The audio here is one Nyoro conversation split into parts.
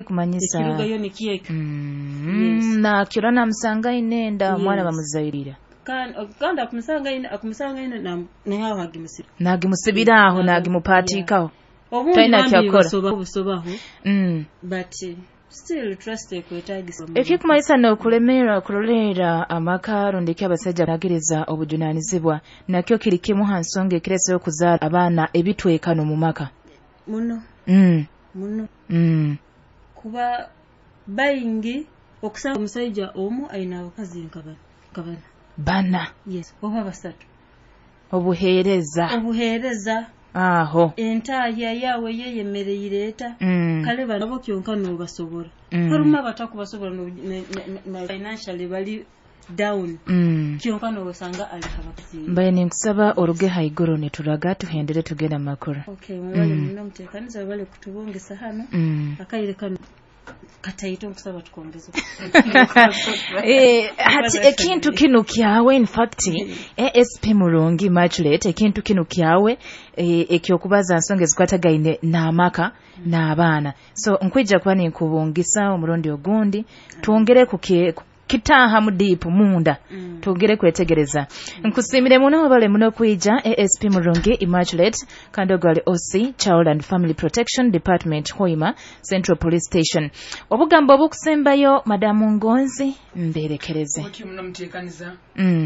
Kumanyisa Ekirugayo nikyekyo. Yes. Nakiro namusanga aine enda, omwana bamuzairira. Kandi akumusanga aine naye aho agimusibira. Nagimusibira aho, nagimupatikaho. Obundi Talina bambi kyakora. Busobaho. But still trust ekwetagisa. Ekikumanyisa n'okulemererwa kuroleera amaka rundi ki abasajja bagiriza obujunaanizibwa nakyo kiri kimu ha nsonga ekireeseho okuzaara abaana ebitwekano mu maka. Muno. Muno. Kuba baingi okusanga omusajja omu aine abakazi nka bana. Bana. Yes, oba basatu. Obuheereza. Obuheereza. Aho. Entaaya yawe yeyemereire eta. Kale nabo kyonka n'obasobola. Harimu abatakubasobola na financially bali down. Kyonka n'obasanga ali abakazi. Mbaye ninkusaba oruge haiguru nituraga tuhendere tugenda makuru. Okay, mwebale muno muteekaniza bale kutubungisa hano. Akaire kano kataito nkusaba tukongeze. Hati ekintu kinu kyawe, in fact ASP Murungi Immaculate, ekintu kinu kyawe ekyokubaza nsonga ezikwatagaine n'amaka n'abaana. So nkwija kuba ninkubungisa omurundi ogundi twongere kitaha mu deep munda twongere kwetegereza. Nkusimire muno bale muno kwija ASP Murungi Immaculate kandi ogwali OC Child and Family Protection Department Hoima Central Police Station. Obugambo obukusembayo Madamu Ngonzi mberekereze. Obuti muno muteekaniza.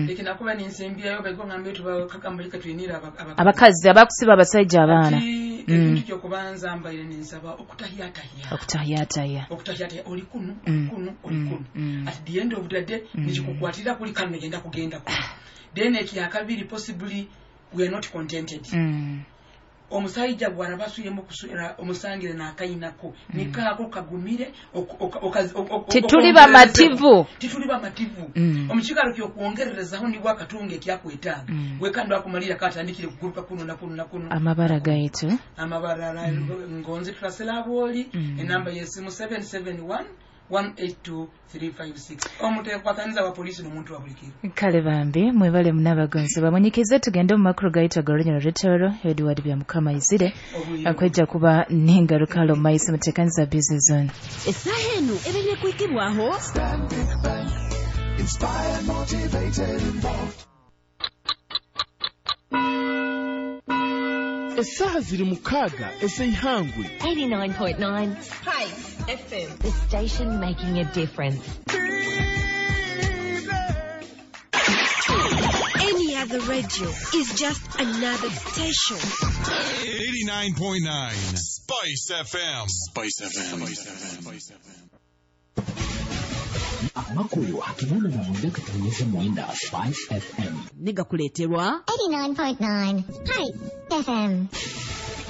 Ekinakuba ninsembyayo baiko ngambe tuba kakambali katwinira abakazi abakusiba abasajja abaana. Ekintu kyokubanza mbaire ninsaba okutahyatahya. Okutahyatahya. Okutahyatahya oli kuno, kuno, oli kuno. At the end of the day nikikukwatira kuli kano genda kugenda kuno. Then ekyakabiri possibly we are not contented. Omusajja bw'arabasuyemu kuswera omusangire n'akayinako nikaako kagumire tituli bamativu. Tituli bamativu. Omukikalo ky'okwongererezaho nibwo akatunga ekyakwetaaga wekando akumalira katandikire kuguruka kuno na kuno na kuno. Amabara gaitu amabara Ngonzi Trasela Bwoli, enamba y'essimu 771 182 356. Omuteekwatanyiza wa polisi n'omuntu wa buli kiro. Kale bambi mwebale munabagonzi bamunyikize tugende mu makuru gaitu ag'olunyo lw'etoro Edward Byamukama Izire akwejja kuba n'engaruka mu maiso muteekaniza busy zone. Essaaha eno ebeire kwikibwaho Stanbic Bank, inspired, motivated, involved. Essaaha ziri 6 ez'eihangwe. 89.9 Spice FM, the station making a difference. Any other radio is just another station. 89.9 Spice FM. Spice FM. Spice FM. Amakuru hakinana na 9.9 Spice FM. Negakuleterwa 89.9 Spice FM.